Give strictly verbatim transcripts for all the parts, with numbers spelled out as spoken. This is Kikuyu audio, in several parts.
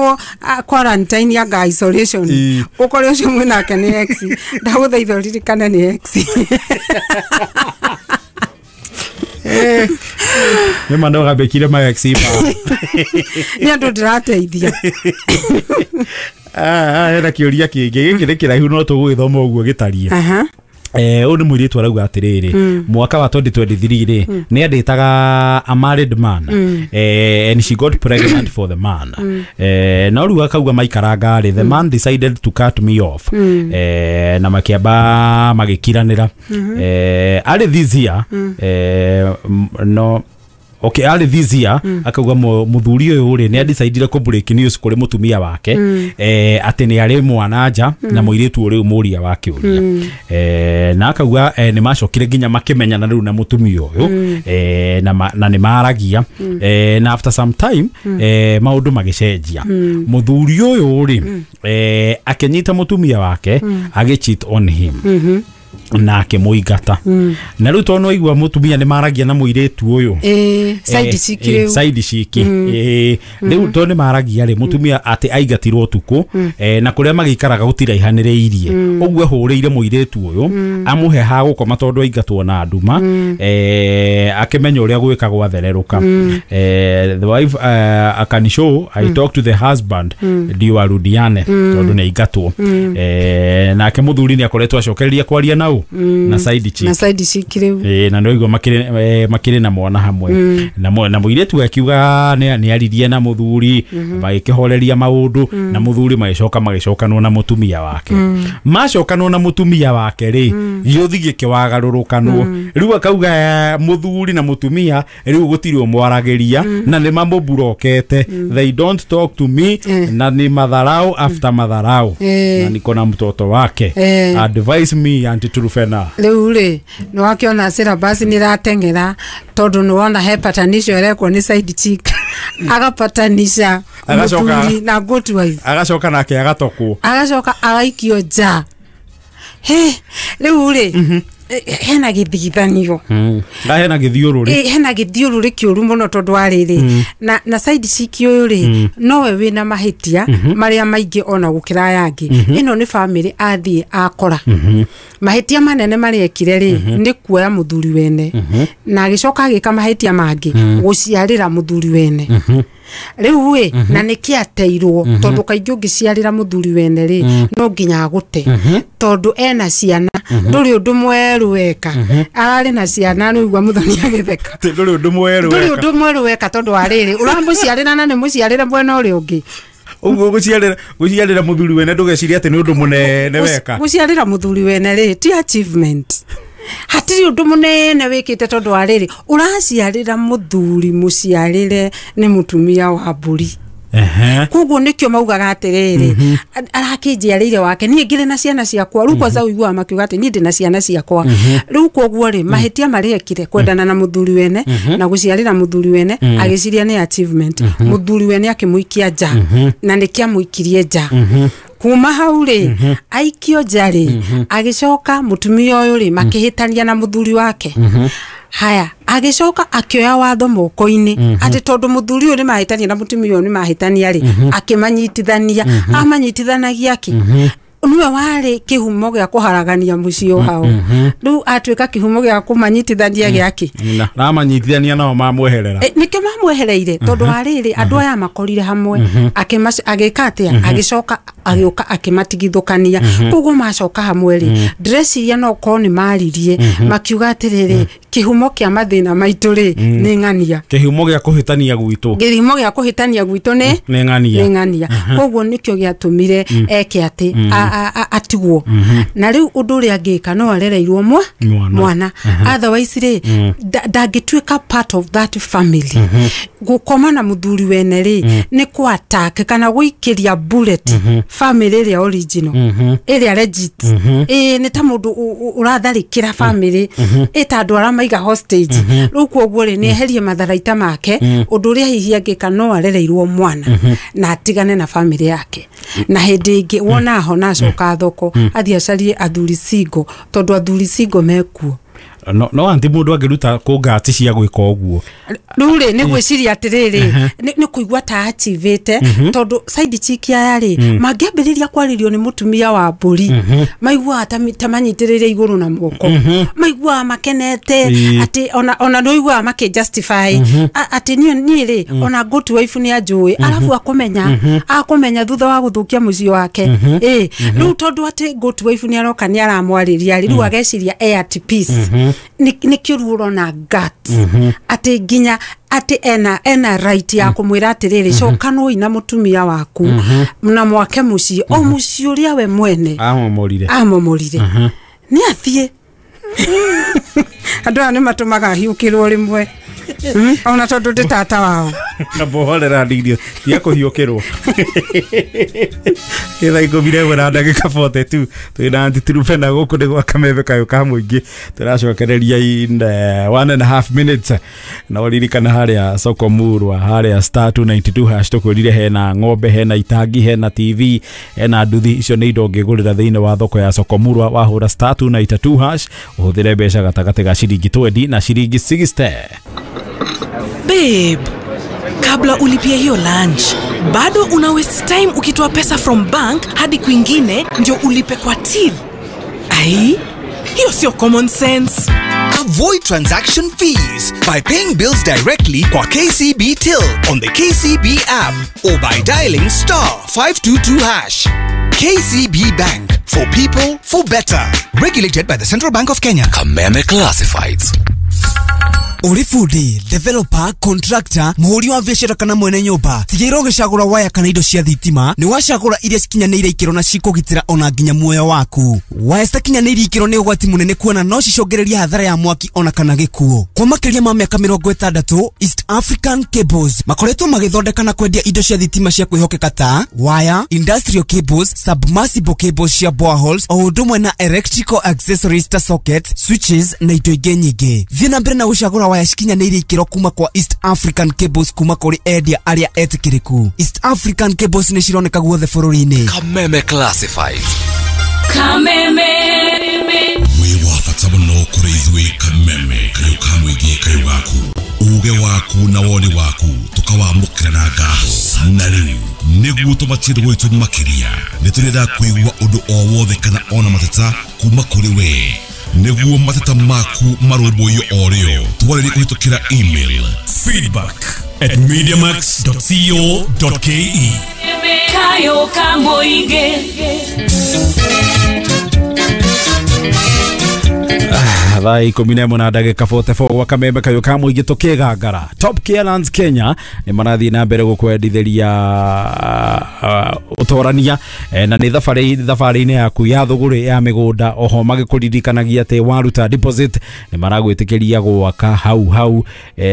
wĩkĩrwo ah, quarantine anga isolation, Ĩ. ũkore ũcio mwĩnake nĩ ex, ndagũthaitha ũririkane nĩ ex. Nĩ ma no gambĩkire ma ex ma. Nĩ andũ ndĩrateithia. Ah, hena kĩũria kĩngĩ gĩkĩ nĩ kĩraihu no tũgũgĩthoma ũguo gĩtariĩ. Aha. Eh, ũyũ nĩ mũirĩtu arauga atĩrĩrĩ, mwaka wa twenty twenty-three rĩ, nĩ andĩtaga a married man, eh, and she got pregnant for the man. eh, no rĩu akauga maikaranga rĩ, the man decided to cut me off, eh, na makĩamba magĩkiranĩra. eh, arĩ this year, eh, m- no okay, arĩ this year akauga mu- mũthuri ũyũ rĩ, nĩ adecidire kũ break news kũrĩ mũtumia wake eh, atĩ nĩ arĩ mwana nja na mũirĩtu ũrĩu mũria wa kĩũria. eh, na akauga eh, nĩ macokire nginya makĩmenyana rĩu na mũtumia ũyũ, eh, na, ma, na nĩ maragia, eh, na after some time eh, maũndũ magĩcenjia. Mũthuri ũyũ rĩ, eh, akĩnyita mũtumia wake agĩ cheat on him na akĩmũingata. Na rĩu tondũ aigua mũtumia nĩ maragia na mũirĩtu ũyũ, Ĩ, side Eh, chick eh, rĩu. Side chick. Eh, rĩu tondũ nĩ maragia rĩ, mũtumia atĩ aingatirwo ũtukũ, eh, na kũrĩa magĩikaraga gũtiraihanĩrĩirie ũguo, ahũrĩire mũirĩtu ũyũ amũhe ha gũkoma tondũ aingatwo na nduma, eh, akĩmenya ũrĩa gwĩka gwathererũka. eh, the wife uh, akanishow I talk to the husband ndio arudiane tondũ nĩ aingatwo. eh, nake mũthuri nĩ akoretwo acokereria kwaria nau na side chick. Na side chick rĩu. Ĩĩ, na nĩwaigua makĩrĩ eh, makĩrĩ na mwana hamwe na mũ- na mũirĩtu akiuga nĩ nĩ aririe na mũthuri, magĩkĩhoreria maũndũ na mũthuri, magĩcoka magĩcokanwo na mũtumia wake. Macokanwo na mũtumia wake rĩ, gĩũthi gĩkĩwagarũrũkanwo. Rĩu akauga eh, mũthuri na mũtumia rĩu gũtirĩ ũmwaragĩria na nĩ mamũburokete, they don't talk to me, na ni madharau after madharau, Eh. na niko na mtoto wake. Eh. Advise me, Auntie Trufena. Rĩu rĩ, nĩ wakĩona syllabus nĩ ĩrateng'era tondũ nĩ wona he patanisho ĩrekwo nĩ side chick, agapatanisha Agacoka- mũthuri na good wife. Agacoka nake agatokwo. Agacoka agaikio nja. He rĩu rĩ, eh, hena gĩthigithanio. Hena gĩthiũrũrĩ. Ĩ, hena gĩthiũrũrĩ kĩũru mũno tondũ wa rĩrĩ, na, na side chick ũyũ rĩ, nowe wĩna mahĩtia marĩa maingĩ ona gũkĩra aya angĩ. Ĩno nĩ famĩlĩ athiĩ akora mahĩtia manene marĩa ekire rĩ, nĩ kuoya mũthuri wene, na agĩcoka agĩka mahĩtia mangĩ gũciarĩra mũthuri wene. Rĩu ĩ, na nĩkĩ ateirwo? Tondũ kaingĩ ũngĩciarĩra mũthuri wene rĩ, no nginya agũte tondũ ena ciana. Ndũrĩ ũndũ mwerũ weka, ararĩ na ciana. Nĩigua mũthoni agĩtheka. Atĩ ndũrĩ ũndũ mwerũ Ndũrĩ weka. ũndũ mwerũ weka tondũ wa rĩrĩ, ũramũciarĩra na nĩ mũciarĩre mwena ũrĩa ũngĩ. Ũguo gũciarĩra gũciarĩra mũthuri wene, ndũgeciria atĩ nĩ ũndũ mũnene weka. Gũciarĩra mũthuri wene rĩ, ti achievement, hatirĩ ũndũ mũnene wĩkĩte tondũ wa rĩrĩ, ũraciarĩra mũthuri mũciarĩre nĩ mũtumia wa mbũri. Ehe. Koguo nĩkĩo maugaga atĩrĩrĩ, arakĩnjiarĩire wake, niĩ ngĩrĩ na ciana ciakwa. Rĩu kwanza ũiguaga makiuga atĩ niĩ ndĩ na ciana ciakwa. Rĩu koguo rĩ, mahĩtia marĩa ekire, kwendana na mũthuri wene na gũciarĩra mũthuri wene, agĩciria nĩ achievement, mũthuri wene akĩmũikia nja. Na nĩkĩ amũikirie nja? Kuma hau rĩ, aikio nja rĩ, agĩcoka mũtumia ũyũ rĩ, makĩhĩtania na mũthuri wake. Haya, agĩcoka akĩoya watho moko-inĩ atĩ tondũ mũthuri ũyũ nĩ mahĩtania na mũtumia ũyũ nĩ mahĩtania rĩ, akĩmanyitithania. Amanyitithanagia kĩ? Nĩwe warĩ kĩhumo gĩa kũharagania mũciĩ wao. Rĩu atuĩka kĩhumo gĩa kũmanyitithania gĩakĩ? Na ramanyitithania nao mamweherera. E, nĩkĩo mamwehereire tondũ wa rĩrĩ, andũ aya makorire hamwe, akĩmac- agĩka atĩa? Agĩcoka agĩũka akĩmatigithũkania. Koguo macoka hamwe rĩ, ndĩreciria no korwo nĩ maririe makiuga atĩrĩrĩ, kĩhumo kĩa mathĩna maitũ rĩ, nĩ ng'ania. Kĩhumo gĩa kũhĩtania gwitũ. Kĩhumo gĩa kũhĩtania gwitũ nĩ nĩ ng'ania. Nĩ ng'ania. Koguo nĩkĩo gĩatũmire eke atĩ a- a- a- atigwo. Na rĩu ũndũ ũrĩa angĩka, no arereirwo mwa Mwana. Mwana. Otherwise rĩ, nda- ndangĩtuĩka part of that family. Gũkoma na mũthuri wene rĩ, nĩ kũ attack kana gũikĩria bullet family ĩrĩa original, ĩrĩa legit. Ĩĩ, nĩ ta mũndũ ũ- ũ- ũratharĩkĩra family, ĩ ta andũ arĩa maiga hostage. Rĩu koguo rĩ, nĩ eherie matharaita make. Ũndũ ũrĩa hihi angĩka, no arereirwo mwana na atigane na family yake, na hĩndĩ ĩngĩ wona ahona acoka thoko, athiĩ acarie athuri single, tondũ athuri single mekuo. no no anti mũndũ angĩruta kũ ngati cia gwĩka ũguo? Rĩu rĩ nĩ gwĩciria atĩrĩrĩ, nĩ kũigua ta achivĩte, tondũ side chick aya rĩ mangĩambĩrĩria kwarĩrio nĩ mũtumia wa mbũri, maiguaga ta manyitĩrĩire igũrũ na moko, maiguaga makenete atĩ ona ona nĩ ũiguaga makĩ justify atĩ niĩ rĩ ona good wife nĩ anjũĩ, arabu akũmenya akũmenya thutha wa gũthũkia mũciĩ wake. Ĩ rĩu tondũ atĩ good wife nĩ aroka nĩ aramwarĩria rĩ, rĩu ageciria e at peace. Nĩkĩo rĩu ũrona guts atĩ nginya atĩ ena ena right ya kumwira atiriri, cokanwo na mutumia waku na mwake muciĩ o muciĩ ũrĩa we mwene amomorire amomorire nĩ athiĩ. Andũ aya nĩ matũmaga hiũkĩrwo rĩmwe, ona tondũ ndĩ tata wao na bohorera ndirio tia kũhiũkĩrwo. Thaa ikũmi na ĩmwe na ndagĩka forty two twĩna Aunty Truphena gũkũ nĩ gwa Kameme kayũ ka mũingĩ, tũracokereria in one and a half minutes. Na ũririkana harĩa Soko Murwa, harĩa star two ninety two hash tũkwĩrire hena ng'ombe, hena itangi, hena T V, hena nduthi. Icio nĩ indo ũngĩgũrĩra thĩinĩ wa thoko ya Soko Murwa wahũra star two ninety two hash ũhũthĩre mbeca gatagatĩ ga ciringi twenty na ciringi sixty. Babe, kabla ulipie hiyo lunch, bado una waste time ukitoa pesa from bank hadi kwingine ndio ulipe kwa till. Ai, hiyo sio common sense. Avoid transaction fees by paying bills directly kwa K C B Till on the K C B app or by dialing star five two two hash. K C B Bank, for people, for better. Regulated by the Central Bank of Kenya. Kameme Classifieds. Uri fundi, developer, contractor, muhuri wa biashara kana mwene nyumba, tigĩrĩra ũgĩcagũra waya kana indo cia thitima nĩ wacagũra iria cikinyanĩire ikĩro na cikũgitĩra ona nginya muoyo waku. Waya citakinyanĩire ikĩro nĩ ũgwati mũnene kuona no cicũngĩrĩrie hathara ya mwaki ona kana gĩkuũ. Kwa makĩria ma mĩaka mĩrongo ĩtandatũ, East African Cables makoretwo magĩthondeka na kwendia indo cia thitima cia kwĩhokeka ta waya, industrial cables, submersible cables cia boreholes, o ũndũ ũmwe na electrical accessories ta sockets, switches na indo ingĩ nyingĩ. Thiĩ na mbere na gũcagũra waya cikinyanĩire ikĩro kuma kwa East African Cables kuma kũrĩ endia arĩa etĩkĩrĩku. East African Cables nĩ cironeka guothe bũrũri-inĩ. Kameme Classifieds. Kameme wĩ wa bata mũno kũrĩ ithuĩ. Kameme kayũ ka mũingĩ kayũ gaku, uge waku na woni waku tukawamũkĩra na ngatho. Na rĩu nĩguo tũmatie gwitũ makĩria, nĩ tũrenda kũigua ũndũ o wothe kana ona mateta kuma kũrĩ we, nĩguo mateta maku marũmbũiyo o rĩo. Twarĩrie kũhĩtũkĩra email feedback at mediamax dot co dot ke. Kayo ka mũingĩ. Thaa ikũmi na ĩmwe na ndagĩka forty four gwa Kameme kayũ ka mũingĩ tũkĩgangara. Top Care Lands Kenya nĩ marathiĩ na mbere gũkwendithĩria ũtorania, na nĩ thabarĩ thabarĩ-inĩ yaku ya thũgũrĩ ya mĩgũnda. Oho magĩkũririkanagia atĩ waruta deposit nĩ maragwĩtĩkĩria gwaka hau hau.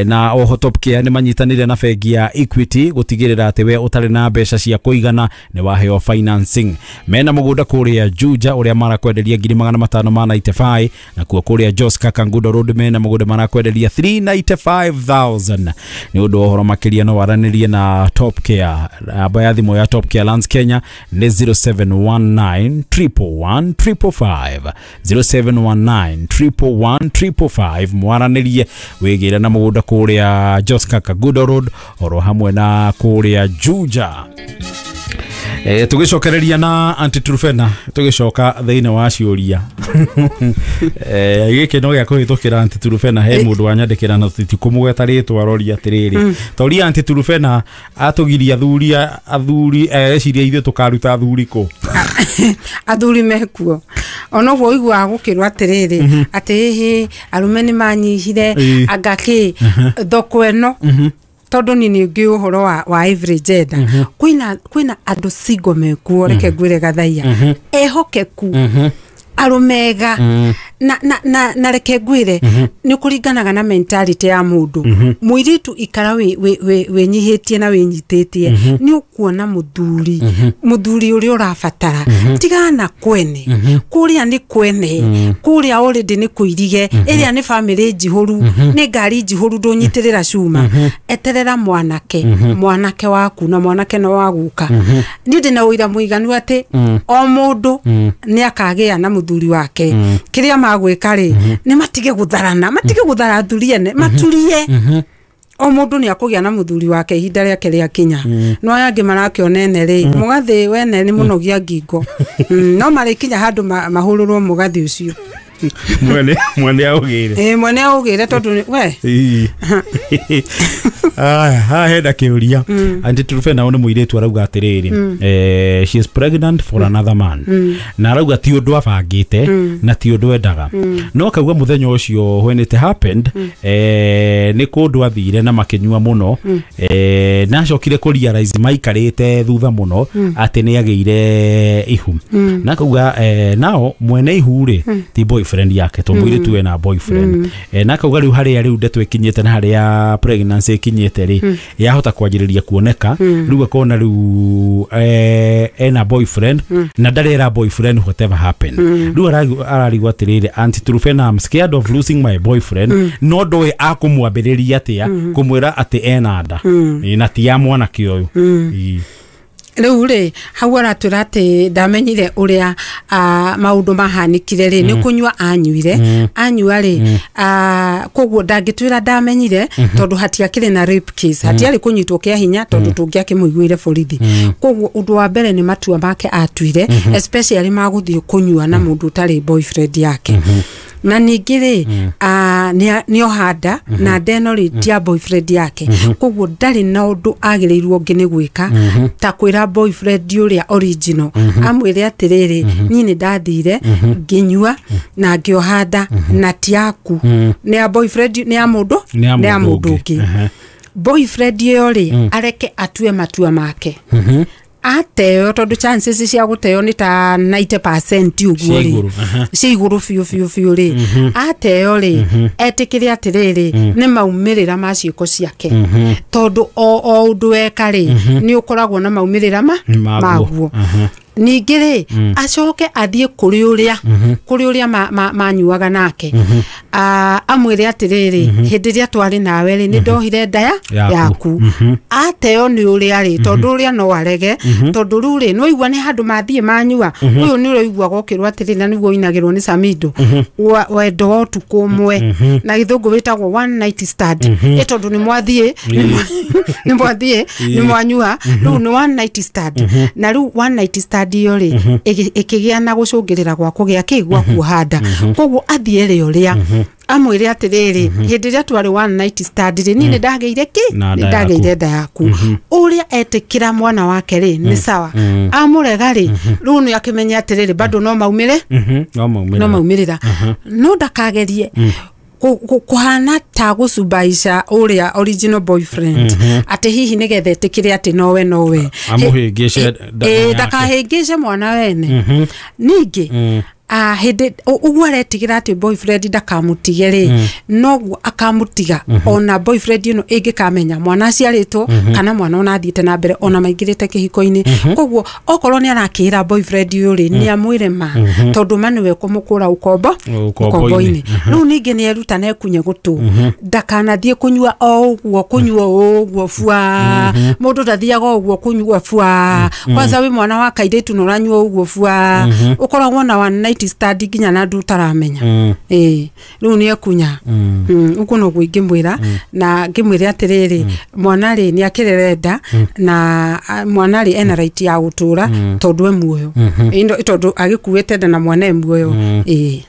Na oho Top Care nĩ manyitanĩire na bengi ya Equity gũtigĩrĩra atĩ we ũtarĩ na mbeca cia kũigana nĩ waheo financing. Mena mũgũnda kũrĩa Juja ũrĩa marakwenderia ngiri magana matano ma ninety five, na kuo kũrĩa Joska Kangundo Road mena mũgũnda marakwenderia three ninety five thousand. Nĩ ũndũ wa ũhoro makĩria no waranĩrie na Top Care. Namba ya thimũ ya Top Care Lands Kenya nĩ zero seven one nine triple one triple five, zero seven one nine triple one triple five. Mwaranĩrie wĩgĩre na mũgũnda kũrĩa Joska Kangundo Road oro hamwe na kũrĩa Juja. Eh, tugicokereria na Aunty Truphena tugicoka thiini wa ciuria. Eh, giki no gĩa kũhĩtũkĩra Aunty Truphena he mũndũ wanyandĩkĩra na titikumũgweta rĩtwa roria atĩrĩrĩ, toria Aunty Truphena atũgiria athuri athuri eciria ithuĩ tũkaruta athuri kũ. Athuri mekuo ona ũguo ũiguaga gũkĩrwo atĩrĩrĩ atĩ hĩhĩ arũme nĩ manyihire anga kĩ thoko ĩno, tondu ni ni ngi uhoro wa wa every gender. Kwina kwina andu single mekuo, reke ngwire gathaia ehokeku arumega na na na na reke ngwire ni kuringanaga na mentality ya mundu. Muiritu ikara wi winyihitie na winyititie ni ukuona muthuri muthuri uria urabatara tigana kwene kuria ni kwene kuria already ni kuirige iria ni family njihuru ni ngari njihuru ndunyitirira cuma eterera mwanake mwanake waku na mwanake no waguka. Ni ndina uira muiganu ati o mundu ni akagia na muthuri wake kiria magwika ri ni matige gutharana matige guthara athuri ene maturie O mundu ni akugia na muthuri wake ihinda riake ria kinya no aya angi marakionene ri mugathi wene ni munogia ngingo. No marikinya handu mahururwo mugathi ucio mwene mwene augire eh mwene augire tondu we ah ha henda kiuria anti turufe na one muiretu arauga atiriri eh she is pregnant for another man na arauga ti undu abangite na ti undu endaga no akauga muthenya ucio when it happened eh ni kundu athire na makinyua muno eh na acokire ku realize maikarite thutha muno ati ni ageire ihu na akauga eh nao mwene ihu ri ti boyfriend yake to muiretu ena boyfriend eh na akauga riu haria riu ndeto ikinyite na haria pregnancy ikinyite ri yahota kwanjiriria kuoneka riu akona riu eh ena boyfriend na ndarera boyfriend whatever happened riu ararigwa atiriri anti Trufena I'm scared of losing my boyfriend no ndoe akumwambiriria atia kumwira ati ena nda na ti ya mwanake uyu. Riu ri hau aratwira ati ndamenyire uria maundu mahanikire ri ni kunyua anyuire anyua ri koguo ndangitwira ndamenyire tondu hatiakiri na rape case hatiari kunyitwo kia hinya tondu tungiakimuiguire borithi. Koguo undu wa mbere ni matua make atuire especially maguthie kunyua na mundu utari boyfriend yake. Na ningĩ rĩ nĩ ohanda na ndeno rĩ ti ya boyfriend yake koguo ndarĩ na ũndũ agĩrĩirwo ũngĩ nĩ gwĩka ta kwĩra boyfriend ũrĩa original amwĩre atĩrĩrĩ niĩ nĩ ndathire ngĩnyua na ngĩohanda na ti yaku nĩ ya boyfriend nĩ ya mũndũ nĩ ya mũndũ ũngĩ. Boyfriend ĩyo rĩ areke atue matua make ateo tondu chances cia guteo ni ta ninety percent uguo ri cia iguru biu biu biu ri ateo ri etikire atiriri ni maumirira ma ciiko ciake tondu o o undu weka ri ni ukoragwo na maumirira ma maguo. Ningĩ rĩ acoke athiĩ kũrĩ ũrĩa kũrĩ ũrĩa manyuaga nake amwĩre atĩrĩrĩ hĩndĩ ĩrĩa twarĩ nawe rĩ nĩ ndohire nda yaku ateo nĩ ũrĩa rĩ tondũ ũrĩa no arege tondũ rĩu rĩ nĩwaigua nĩ handũ mathiĩ manyua ũyũ nĩ ũraigua gokĩrwo atĩrĩ na nĩguo ũinagĩrwo nĩ Samido wendo wa ũtukũ ũmwe na gĩthũngũ wĩtagwo one night stand ĩ tondũ nĩ mwathiĩ nĩ mwathiĩ nĩ mwanyua rĩu nĩ one night stand na rĩu one night stand iyo ri ikigia na gucungirira gwa kugia ki gwa kuhanda koguo athie ri uria amwire atiriri hindi ria twari one night stand ri ni ndageire ki ndageire nda yaku uria etikira mwana wake ri ni sawa amurega ri riu ni akimenya atiriri bado no maumire no maumire no maumirira no ndakagerie kuhana ta gucubaisha uria original boyfriend ati hihi nigetha etikire ati nowe nowe amuhingice eh ndakahingice mwana wene ningi ah hindi uguo aretigira ati boyfriend ndakamutige ri noguo akamutiga ona boyfriend ino ingikamenya mwana aciaritwo kana mwana ona athiite na mbere ona maingirite kihiko-ini koguo okorwo ni arakira boyfriend uyu ri ni amwire ma tondu ma niwe kumukura ukombo ukombo-ini riu ningi ni eruta na ekunye gutu ndakanathie kunyua o uguo kunyua uguo bua mundu ndathiaga uguo kunyua bua kwanza wi mwana wa kairitu no uranyua uguo bua ukoragwo na one night stand nginya na ndu utaramenya eh riu ni ekunya uguo noguo ingimwira na ngimwire atiriri mwana ri ni akirerenda na mwana ri ena right ya gutura tondu e muoyo tondu agikuite nda na mwana e muoyo eh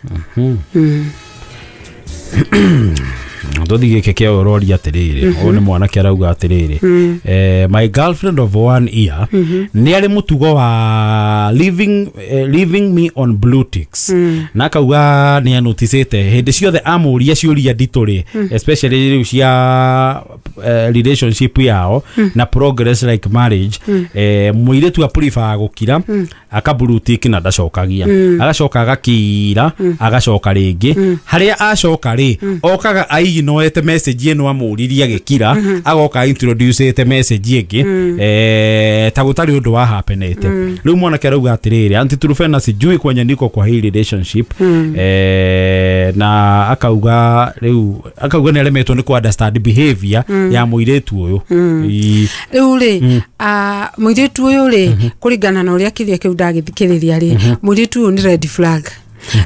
ndothi gike kia urori atiriri uyu ni mwanake arauga atiriri eh my girlfriend of one year ni ari mutugo wa leaving eh, leaving me on blue ticks na akauga ni anoticete hindi ciothe amuria ciuria nditu ri especially riu cia relationship yao na progress like marriage eh muiretu a prefer gukira aka blue tick na ndacokagia agacoka agakira agacoka ringi haria acoka ri okaga aiginoete message ino amuririe agikira agoka introduce ete message ingi eh ta gutari undu wa happenete riu mwanake arauga atiriri anti Trufena sijui kwenye niko kwa hii relationship eh na akauga riu akauga ni aremetwo ni ku understand behavior ya muiretu uyu riu ri a muiretu uyu ri kuringana na uria kiria kiu ndagithikiriria ri muiretu uyu ni red flag.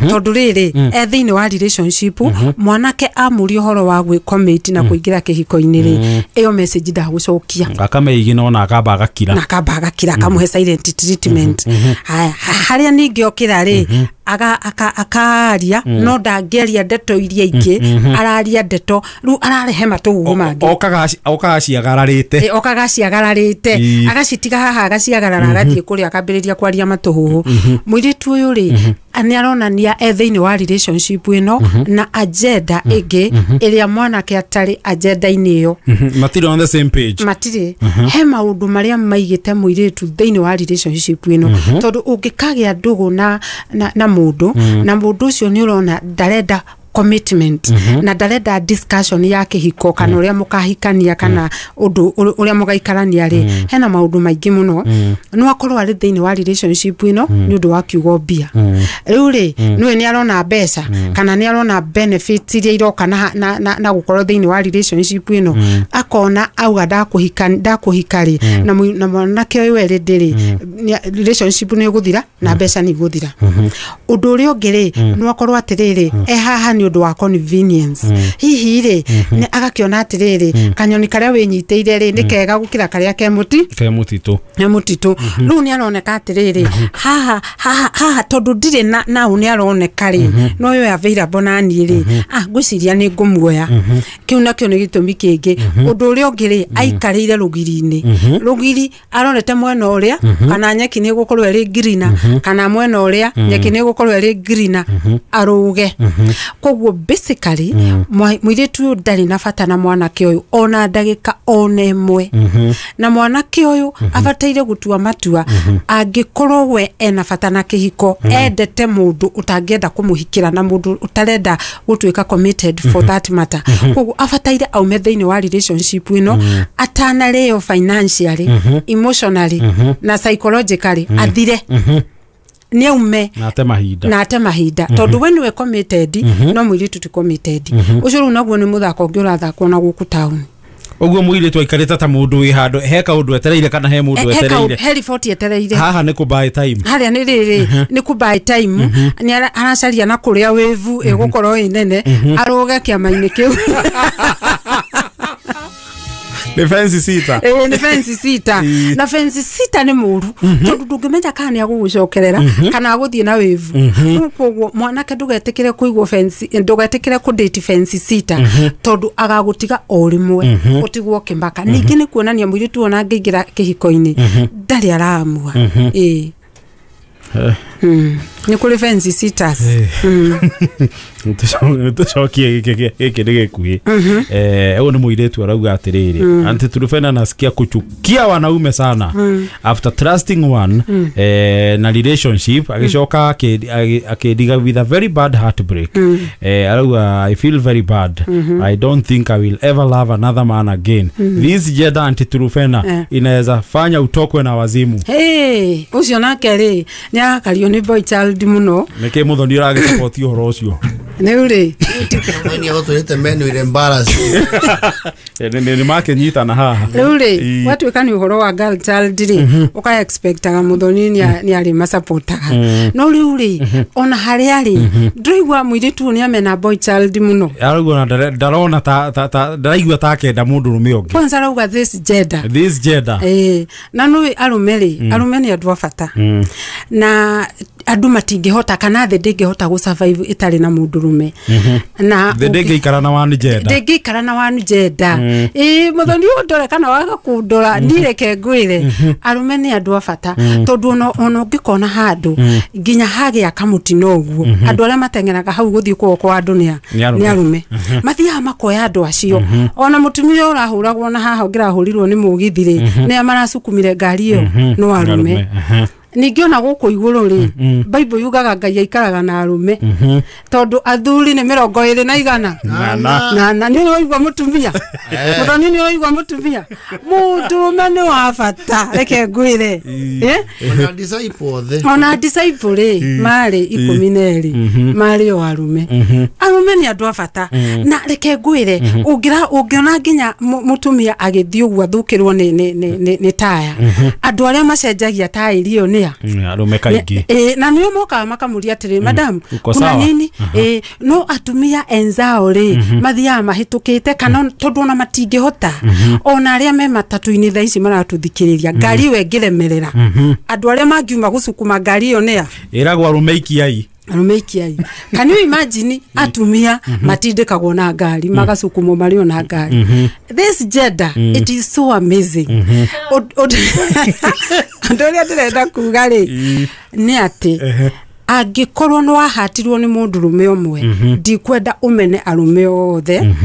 Tondu riri e thiini wa relationship mwanake amuria horo wa gwi commit na kuingira kihiko-ini ri iyo message ndagucokia akameigi no na akamba agakira na akamba agakira akamuhe silent treatment. Haya haria ningi okira ri aga aka akaria no ndangĩaria ndeto iria ingĩ araria ndeto rĩu ararehe matũgũgũ mangĩ okaga okaga ciagararĩte okaga ciagararĩte agacitiga haha agaciagarara agathiĩ kũrĩa akambĩrĩria kwaria matũhũhũ. Mũirĩtu ũyũ rĩ nĩ aronania e thĩinĩ wa relationship ĩno na agenda ĩngĩ ĩrĩa mwanake atarĩ agenda-inĩ ĩyo. Matirĩ on the same page. Matirĩ. He maũndũ marĩa maigĩte mũirĩtu thĩinĩ wa relationship ĩno tondũ ũngĩkagĩa ndũgũ na na mũndũ na mũndũ ũcio nĩ ũrona ndarenda commitment na ndarenda discussion ya kihiko kana uria mukahikania kana undu uria mugaikarania ri hena maundu maingi muno no akorwo ari thiini wa relationship ino ni undu wa kiugo mbia riu ri niwe ni arona mbeca kana ni arona benefits iria iroka na na na gukorwo thiini wa relationship ino akona auga ndakuhika ndakuhika ri na na mwanake uyu eri ndiri relationship ni guthira na mbeca ni guthira undu uria ungi ri no akorwo atiriri e haha ni undu wa convenience hihi ri ni agakiona atiriri kanyoni karia winyiteire ri ni kega gukira karia ke muti ke mutitu ke mutitu riu ni aroneka atiriri haha haha haha tondu ndire na nau ni aroneka ri no yo available na ni ri ah ngwiciria ni ngumuoya kiu nakio ni gitumi kingi undu uria ungi ri aikarire rugiri-ini rugiri arorete mwena uria kana nyeki ni gukorwo iri green kana mwena uria nyeki ni gukorwo iri green aruge koguo basically muiritu uyu ndari na bata na mwanake uyu ona ndagika ona imwe na mwanake uyu abataire gutua matua angikorwo we ena bata na kihiko endete mundu utangienda kumuhikira na mundu utarenda gutuika committed for that matter koguo abataire aume thiini wa relationship ino atanareo financially emotionally na psychologically athire ni aume na ate mahinda na ate mahinda tondu we niwe committed no muiritu ti committed ucio riu naguo ni muthako ungi urathakwo na guku town uguo muiritu aikarite ta mundu wi handu he kaundu etereire kana he mundu etereire he report etereire haha ni ku buy time haria ni riri ni ku buy time ni aracaria na kuria wevu igukorwo inene aruge kiama-ini kiu ni fence sita eh ni fence sita na fence sita ni muru tondu ndungimenya kana ni agugucokerera kana aguthie na wevu koguo mwanake ndugetikire kuigwo fence ndugetikire ku date fence sita tondu agagutiga o rimwe utigwo kimaka ningi ni kuonania muiritu ona angĩingĩra kihiko-inĩ ndari aramua eh ni kuri fence sitters tucokie giki ni gikuhi eh uyu ni muiritu arauga atiriri anti Turufena nasikia kuchukia wanaume sana after trusting one eh na relationship agicoka akidiga with a very bad heartbreak eh arauga I feel very bad I don't think I will ever love another man again this gender anti Turufena inaweza fanya utokwe na wazimu. Hey ucio nake ri ni arakario ni boy child muno niki muthoni uragisupport uhoro ucio ni uri ni agutwirite men will embarrass ni ni makinyitana haha riu ri watuika ni uhoro wa girl child ri uka expectaga muthoni ni ari masupportaga no riu ri ona haria ri ndiraigua muiritu ni amena boy child muno arauga ndarona ta ta ndaraigua ta kenda mundu rume ungi kwanza arauga this gender this gender eh na no arume ri arume ni andu a bata na andu matingihota kana the ndingihota gu survive itari na mundu rume na the ndingikara na one gender ndingikara na one gender eh muthoni undore kana waga kundora ndireke ngwire arume ni andu a bata tondu ono ono ngikona handu nginya hagia kamutino uguo andu aria mateng'eraga hau guthii kuo kwa andu ni ni arume mathiaga makoya andu acio ona mutumia urahuragwo na haha ungirahurirwo ni mugithi ri ni marasukumire ngari iyo no arume ningĩ ona gũkũ igũrũ rĩ Bible yugaga Ngai aikaraga na arume tondu athuri nĩ mĩrongo ĩrĩ na igana na na nĩ ũraigua mũtumia mũthoni nĩ ũraigua mũtumia mũndũrũme nĩ wa bata reke ngwĩre eh ona disciple othe ona disciple rĩ marĩ ikũmi na erĩ marĩ o arume arume nĩ andũ a bata na reke ngwĩre ũngĩra ũngĩona nginya mũtumia agĩthiĩ ũguo athũkĩrwo nĩ nĩ nĩ taya andũ arĩa macenjagia taĩri ĩyo nĩa Arũme kaingĩ. Ĩ, na nĩo mokaga makamũria atĩrĩ, madam, Uko kuna sawa? nini? Ĩ, no atumia enzao rĩ mathiaga mahĩtũkĩte kana tondũ ona matingĩhota. Ona arĩa me matatũ-inĩ thaa ici maratũthikĩrĩria, ngari ĩyo ĩngĩremerera, andũ arĩa mangiuma gũcukuma ngari ĩyo nĩa? Ĩragwo arũme ikiai. Arũme ikiai. Can you imagine atumia matindĩkagwo na ngari, magacukumwo marĩ o na ngari? This gender, it is so amazing. Ũndũ ũndũ ũrĩa ndĩrenda kuga rĩ nĩ atĩ angĩkorwo nĩ wahatirwo nĩ mũndũrũme ũmwe, ndikwenda ũmene arũme othe.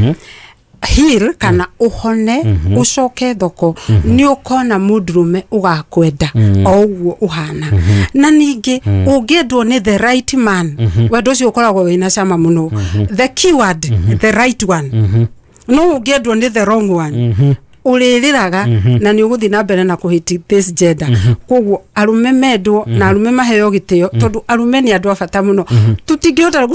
Heal kana ũhone, ũcoke thoko, nĩ ũkona mũndũrũme ũgakwenda o ũguo ũhana. Na ningĩ ũngĩendwo nĩ the right man, wendo ũcio ũkoragwo wĩna cama mũno. The keyword, the right one. No ũngĩendwo nĩ the wrong one, ũrĩrĩraga na nĩ ũgũthiĩ na mbere na kũhĩti this gender. Koguo arũme mendwo na arũme maheo gĩtĩo, tondũ arũme nĩ andũ a bata mũno. Tũtingĩhota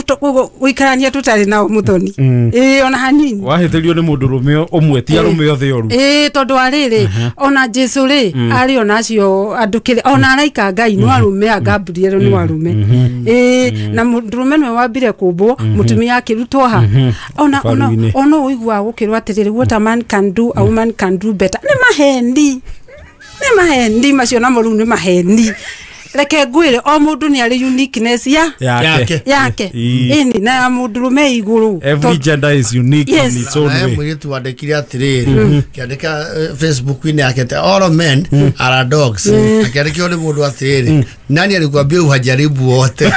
gũikarania tũtarĩ nao, mũthoni, ĩĩ, ona hanini. Wahĩtĩrio nĩ mũndũrũme ũmwe, ti arũme othe oru. Ĩĩ, tondũ wa rĩrĩ, ona Jesu rĩ arĩ ona acio andũ kĩrĩ ona araika Ngai no arũme, a Gabriel no arũme. Ĩĩ, na mũndũrũme nĩwe wambire kũmbwo, mũtumia akĩrutwo ha ona ona Baru-inĩ. Ona ũiguaga gũkĩrwo atĩrĩrĩ, "What a man can do, a woman can do better." Nĩ maheni, nĩ maheni macio, namo rĩu nĩ maheni. Reke ngwĩre, o mũndũ nĩ arĩ uniqueness ya yake. Yake. Ii. Ĩni na ya mũndũrũme igũrũ. Every gender is unique Yes. in its own Naye way. mũirĩtu wandĩkire atĩrĩrĩ, kĩandĩka eh, Facebook-inĩ yake atĩ all men are dogs. Akĩandĩkĩrwo nĩ mũndũ atĩrĩrĩ, nani alikuambia uhajaribu wote?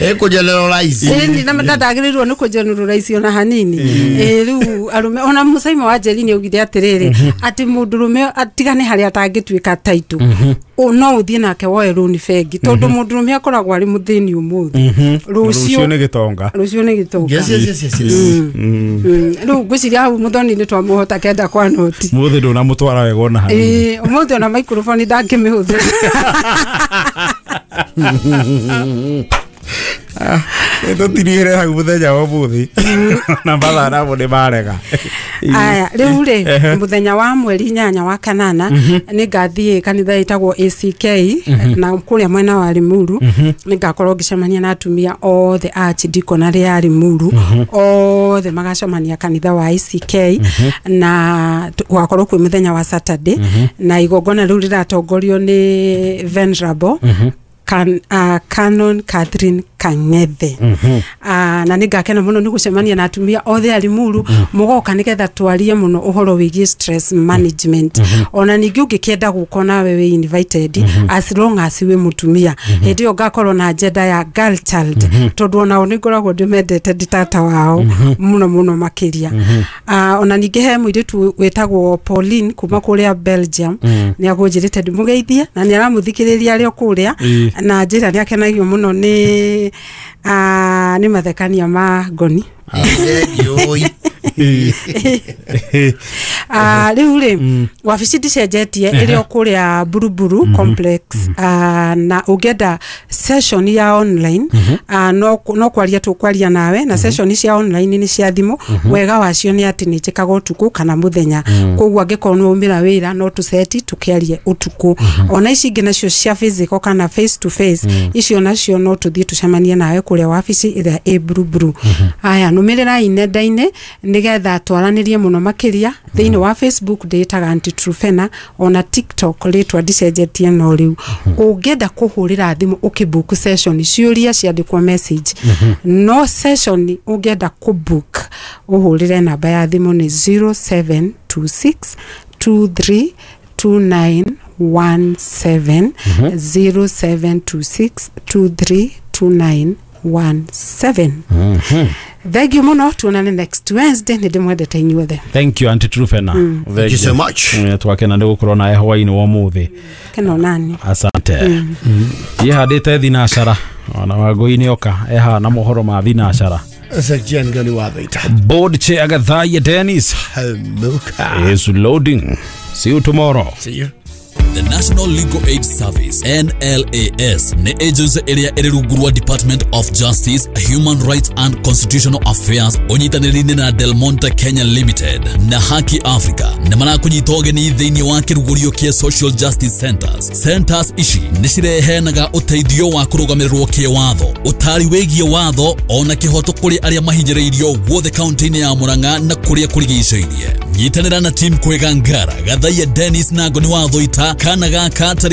Ĩkũgeneralize. Ĩni na ndagĩrĩirwo nĩ kũgeneralize ona hanini. Ĩ, rĩu arũme, ona Mũcaima wa Njeri nĩ augire atĩrĩrĩ, atĩ mũndũrũme atigane harĩa atangĩtuĩka taitũ, no ũthiĩ nake woe rũni bengi, tondũ mũndũrũme akoragwo arĩ mũthĩni ũmũthĩ, rũciũ rũciũ nĩ gĩtonga. Rũciũ nĩ gĩtonga. Yes, yes, yes, yes, yes. Mm. Rĩu ngwĩciria hau mũthoni nĩ twamũhota kenda kwa noti. Mũthĩ ndũnamũtwara wega ona hanini. Ĩ, ũmũthĩ ona microphone ndangĩmĩhũthĩra. Tũtirigĩre hau mũthenya wa ũmũthĩ na mathaa namo nĩ marega. Aya, rĩu rĩ, mũthenya wa mweri inyanya wa kanana nĩ ngathiĩ kanitha ĩtagwo A C K na kũrĩa mwena wa Limuru. Nĩ ngakorwo ngĩcemania na atumia othe a archdeaconry ya Limuru, othe magacemania kanitha wa A C K, na t- gwakorwo kwĩ mũthenya wa Saturday, na igongona rĩu rĩratongorio nĩ Venerable Can, uh, Canon Catherine Kang'ethe. mm -hmm. uh, na nĩ ngakena mũno nĩ gũcemania na atumia othe a Limuru. mm -hmm. Mũgoka nĩgetha twarie mũno ũhoro wĩgiĩ stress management. mm -hmm. Ona ningĩ ũngĩkĩenda gũka nawe wĩ invited, mm -hmm. as long as wĩ mũtumia. mm -hmm. Hĩndĩ ĩyo ngakorwo na agenda ya girl child, mm -hmm. tondũ onao nĩ ngoragwo ndĩmendete, ndĩ tata wao mm -hmm. mũno mũno makĩria. mm -hmm. uh, ona ningĩ he mũirĩtu wĩtagwo Pauline kuma kũrĩa Belgium, mm -hmm. nĩ agũnjĩrĩte ndĩmũgeithie na nĩ aramũthikĩrĩria arĩ o kũrĩa, na njĩra nĩ akenagio mũno nĩ uh, nĩ mathekania ma ngoni. Thengiũi. Ah, rĩu rĩ, wabici ndicenjetie, ĩrĩ o kũrĩa Buruburu Complex. Ah, na ũngĩenda session ya online, ah, no no kwaria tũkwaria nawe, na session cia online nĩ cia thimũ. Wega wacio nĩ atĩ nĩ njĩkaga ũtukũ kana mũthenya, koguo angĩkorwo nĩ waumĩra wĩra no tũceti tũkĩarie ũtukũ. Ona ici ingĩ nacio cia physical kana face to face, icio nacio no tũthiĩ tũcemanie nawe kũrĩa wabici ĩrĩa ĩ Buruburu. Aya, nũmĩrĩrai nenda-inĩ nĩgetha twaranĩrie mũno makĩria. Thĩinĩ wa Facebook ndĩĩtaga Aunty Truphena, ona TikTok rĩtwa ndicenjetie. No rĩu ũngĩenda kũhũrĩra thimũ ũkĩbook session, ciũria ciandĩkwo message, no session ũngĩenda kũbook ũhũrĩre namba ya thimũ nĩ zero seven two six two three two nine one seven, zero seven two six two three two nine one seven. Thank you mũno, tuonane next Wednesday. Nĩ ndĩmwendete inyuothe. Thank you, Aunty Truphena. Thank you so much. Twakena nĩ gũkorwo nawe hwainĩ wa ũmũthĩ. Keno nani. Asante. Yihandĩte thinacara ona Wangũi oka eha na mohoro ma thinacara. Section gani wa thaita. Board chair Gathaiya Dennis Hamuka. is loading. See you tomorrow. See you. The National Legal Aid Service N L A S nĩ agency ĩrĩa ĩrĩ rungu rwa Department of Justice, Human Rights and Constitutional Affairs ũnyitanĩri-inĩ na Del Monte Kenya Limited na Haki Africa nĩ marakũnyita ũgeni thĩinĩ wa kĩrugũrio kĩa Social Justice Centers. Centers ici nĩ cireheanaga ũteithio wa kũrũgamĩrĩrwo kĩwatho, ũtaari wĩgiĩ watho ona kĩhoto kũrĩ arĩa mahinyĩrĩirio guothe kaunti-inĩ ya Murang'a na kũrĩa kũrigicĩirie. Nyitanĩra na team Kwega Ngara, Gathaia Dennis na Ngoni wa Thoita kana gaka tarĩki